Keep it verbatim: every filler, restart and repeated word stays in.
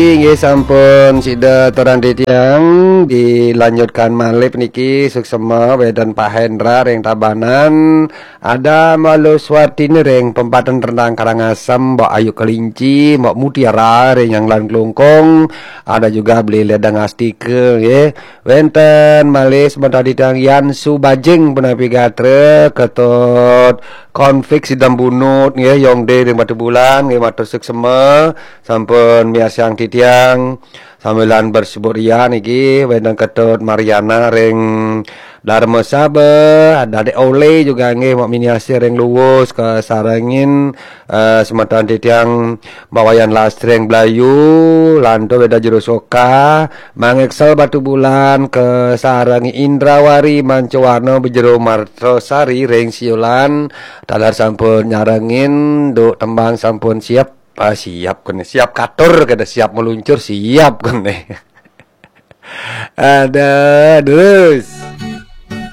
Inggih sampun sida aturang titiang, dilanjutkan malih niki suksema wénten Pak Hendra ring Tabanan, ada Mbak Luswatini ring Pempaten Rendang Karangasem, Mbak Ayu Kelinci, Mbak Mutiara ring Nyanglan Klungkung, ada juga Beli Ledang Astika nggih. Wénten malih semeton titiang Yan Subajing punapi gatra, Ketut Konflik Sidam Bunut nggih, Yongde ring Batubulan nggih, matur suksema sampun miarsaang titiang. Sambilan bersebut Rian niki wénten Ketut Mariana ring Dharma Saba, ada Dek Ole juga nggih, Mak Miniasi ring Luwus kasarengin, eh, semeton titiang Mbak Wayan Lastri ring Blayu, lantur Weda Jero Soka, Mang Excel Batubulan kasarengin Indrawari Mancawarna Bejero Martosari ring Siulan, taler sampun nyarengin, duk tembang sampun siap, ah, siap kene, siap katur kene, siap meluncur, siap kene. Ada terus.